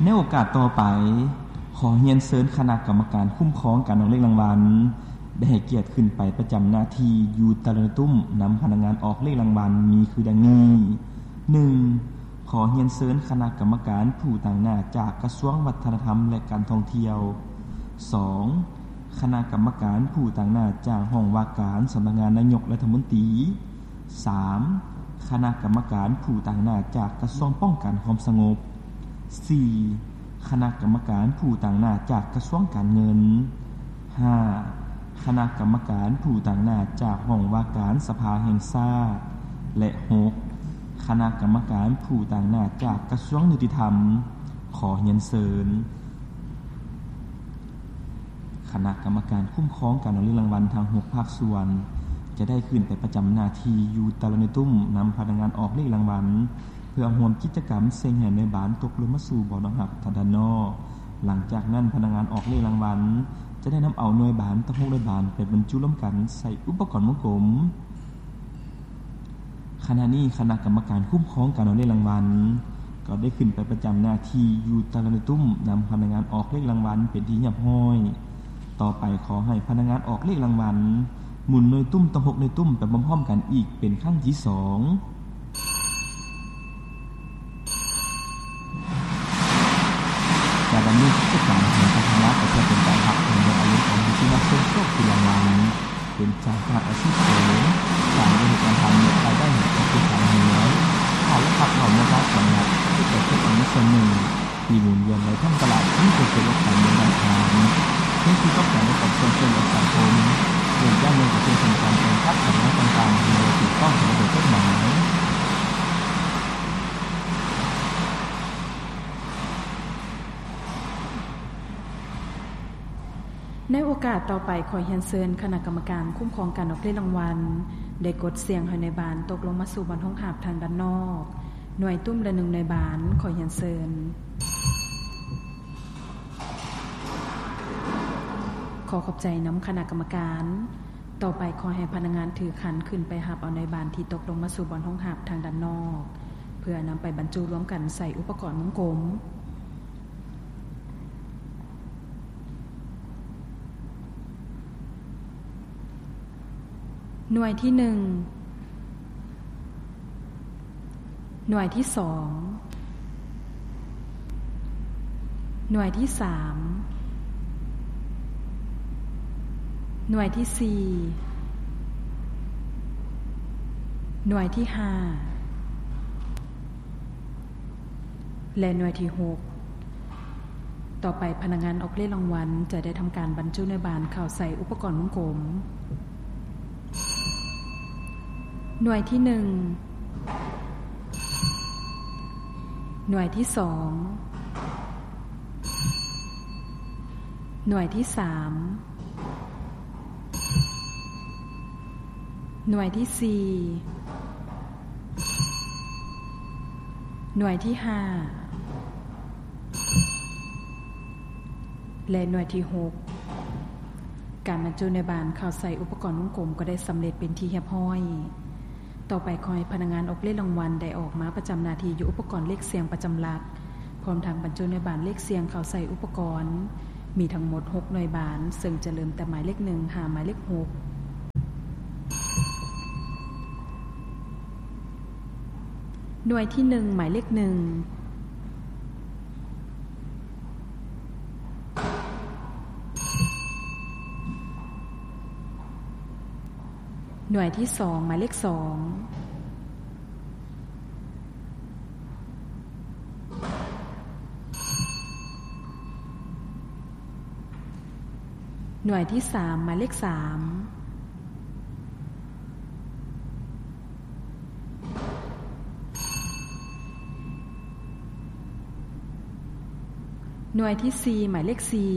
ໃນໂອກາດຕໍ່ໄປ, ຂໍຮຽນເຊີນຄະນະກຳມະການຄຸ້ມຄອງການອອກເລກລາງວັນ ໄດ້ໃຫ້ກຽດຂຶ້ນໄປປະຈຳໜ້າທີ່ຢູ່ແຕ່ລະໜ່ວຍຕຸ້ມ ນຳພະນັກງານອອກເລກລາງວັນມີຄືດັ່ງນີ້: ໜຶ່ງ ຂໍຮຽນເຊີນຄະນະກຳມະການຜູ້ຕາງໜ້າຈາກກະຊວງວັດທະນະທຳ ແລະ ການທ່ອງທ່ຽວ. ສອງ ຄະນະກຳມະການຜູ້ຕາງໜ້າຈາກຫ້ອງວ່າການສຳນັກງານນາຍົກລັດຖະມົນຕີ. ສາມ ຄະນະກຳມະການຜູ້ຕາງໜ້າຈາກກະຊວງປ້ອງກັນຄວາມສະຫງົບ. ສີ່ ຄະນະກຳມະການຜູ້ຕາງໜ້າຈາກກະຊວງການເງິນ. ຫ້າ ຄະນະກຳມະການຜູ້ຕາງໜ້າຈາກຫ້ອງວ່າການສະພາແຫ່ງຊາດ. ແລະ ຫົກ ຄະນະກຳມະການຜູ້ຕາງໜ້າຈາກກະຊວງຍຸຕິທຳ. ຂໍຮຽນເຊີນ ຄະນະກຳມະການຄຸ້ມຄອງການອອກເລກລາງວັນທັງຫົກພາກສ່ວນ ຈະໄດ້ຂຶ້ນໄປປະຈຳໜ້າທີ່ຢູ່ແຕ່ລະໜ່ວຍຕຸ້ມ ນຳພະນັກງານອອກເລກລາງວັນ ເພື່ອຮ່ວມກິດຈະກຳເສັງໃຫ້ໜ່ວຍບານຕົກລົງມາສູ່ບ່ອນຮັບທາງດ້ານນອກ. ຫຼັງຈາກນັ້ນ, ພະນັກງານອອກເລກລາງວັນຈະໄດ້ນຳເອົາໜ່ວຍບານທັງຫົກໜ່ວຍບານໄປບັນຈຸລວມກັນໃສ່ອຸປະກອນວົງກົມ. ຂະນະນີ້ຄະນະກຳມະການຄຸ້ມຄອງການອອກເລກລາງວັນ ກໍໄດ້ຂຶ້ນໄປປະຈຳໜ້າທີ່ຢູ່ແຕ່ລະໜ່ວຍຕຸ້ມ ນຳພະນັກງານອອກເລກລາງວັນເປັນທີ່ຮຽບຮ້ອຍ. ຕໍ່ໄປຂໍໃຫ້ພະນັກງານອອກເລກລາງວັນ ໝູນໜ່ວຍຕຸ້ມທັງຫົກໜ່ວຍຕຸ້ມໄປພ້ອມໆກັນອີກເປັນຄັ້ງທີສອງ. ການດຳເນີນກິດຈະການຂອງທາງລັດ ກໍເພື່ອເປັນການຮັບເຖິງອາລມຂອງຜູ້ທີ່ມາເຊິ່ງໂຊກຖືກລາງວັນ ເປັນສາຂາອາຊີບເສີມ, ສ້າງລາຍໄດ້ໃຫ້ແກ່ຕົວເອງ ແລະ ຄອບຄົວ, ຂາຍແລະຮັບເຂົ້າໃນລາຄາກຳລັດ ເພື່ອເກັບເກັບເອົາເງິນສ່ວນໜຶ່ງທີ່ໝູນວຽນໄດ້ທັງຕະຫຼາດ ມີປະໂຫຍດກັບການເງິນນຳທາງ, ເພື່ອທີ່ຕ້ອງການປະກອບສ່ວນຊ່ວຍເຫຼືອສັງຄົມ, ໂດຍຢ່າງໜຶ່ງກໍຄືໂຄງການແຕ່ງຕັ້ງພະນັກງານຕ່າງໆ ທີ່ບໍ່ຖືກຕ້ອງຕາມລະບຽບກົດໝາຍ. ໃນໂອກາດຕໍ່ໄປ, ຂໍຮຽນເຊີນຄະນະກຳມະການຄຸ້ມຄອງການອອກເລກລາງວັນ ໄດ້ກົດສ່ຽງໃຫ້ນາຍບານຕົກລົງມາສູ່ບ່ອນຮອງຮັບທາງດ້ານນອກ, ໜ່ວຍຕຸ້ມລະໜຶ່ງນາຍບານ. ຂໍຮຽນເຊີນ. ຂໍຂອບໃຈນຳຄະນະກຳມະການ. ຕໍ່ໄປ, ຂໍໃຫ້ພະນັກງານຖືຂັນຂຶ້ນໄປຮັບເອົານາຍບານທີ່ຕົກລົງມາສູ່ບ່ອນຮອງຮັບທາງດ້ານນອກ ເພື່ອນຳໄປບັນຈຸລວມກັນໃສ່ອຸປະກອນວົງກົມ. ໜ່ວຍທີໜຶ່ງ, ໜ່ວຍທີສອງ, ໜ່ວຍທີສາມ, ໜ່ວຍທີສີ່, ໜ່ວຍທີຫ້າ ແລະ ໜ່ວຍທີຫົກ. ຕໍ່ໄປ, ພະນັກງານອອກເລກລາງວັນຈະໄດ້ທຳການບັນຈຸນາຍບານເຂົ້າໃສ່ອຸປະກອນວົງກົມ. ໜ່ວຍທີໜຶ່ງ, ໜ່ວຍທີສອງ, ໜ່ວຍທີສາມ, ໜ່ວຍທີສີ່, ໜ່ວຍທີຫ້າ ແລະ ໜ່ວຍທີຫົກ. ການບັນຈຸນາຍບານເຂົ້າໃສ່ອຸປະກອນວົງກົມກໍໄດ້ສຳເລັດເປັນທີ່ຮຽບຮ້ອຍ. ຕໍ່ໄປ, ຂໍໃຫ້ພະນັກງານອອກເລກລາງວັນໄດ້ອອກມາປະຈຳໜ້າທີ່ຢູ່ອຸປະກອນເລກສ່ຽງປະຈຳຫຼັກ, ພ້ອມທັງບັນຈຸນາຍບານເລກສ່ຽງເຂົ້າໃສ່ອຸປະກອນ. ມີທັງໝົດຫົກໜ່ວຍບານ, ເຊິ່ງຈະເລີ່ມແຕ່ໝາຍເລກໜຶ່ງຫາໝາຍເລກຫົກ. ໜ່ວຍທີໜຶ່ງ, ໝາຍເລກໜຶ່ງ. ໜ່ວຍທີສອງ, ໝາຍເລກສອງ. ໜ່ວຍທີສາມ, ໝາຍເລກສາມ. ໜ່ວຍທີສີ່, ໝາຍເລກສີ່.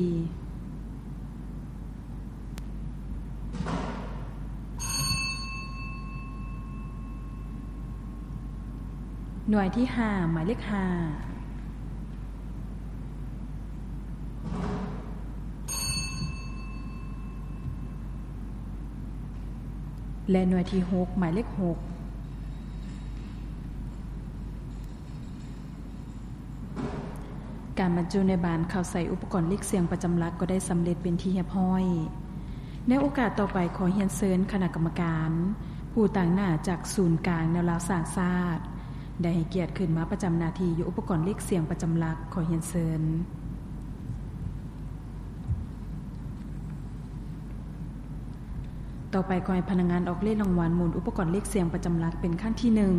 ໜ່ວຍທີຫ້າ, ໝາຍເລກຫ້າ. ແລະ ໜ່ວຍທີຫົກ, ໝາຍເລກຫົກ. ການບັນຈຸນາຍບານເຂົ້າໃສ່ອຸປະກອນເລກສຽງປະຈຳຫຼັກກໍໄດ້ສຳເລັດເປັນທີ່ຮຽບຮ້ອຍ. ໃນໂອກາດຕໍ່ໄປ ຂໍຮຽນເຊີນຄະນະກຳມະການຜູ້ຕາງໜ້າຈາກສູນກາງແນວລາວສ້າງຊາດ ໄດ້ໃຫ້ກຽດຂຶ້ນມາປະຈຳໜ້າທີ່ຢູ່ອຸປະກອນເລກສຽງປະຈຳຫຼັກ. ຂໍຮຽນເຊີນ. ຕໍ່ໄປ ຂໍໃຫ້ພະນັກງານອອກເລກລາງວັນໝູນອຸປະກອນເລກສຽງປະຈຳຫຼັກເປັນຄັ້ງທີໜຶ່ງ.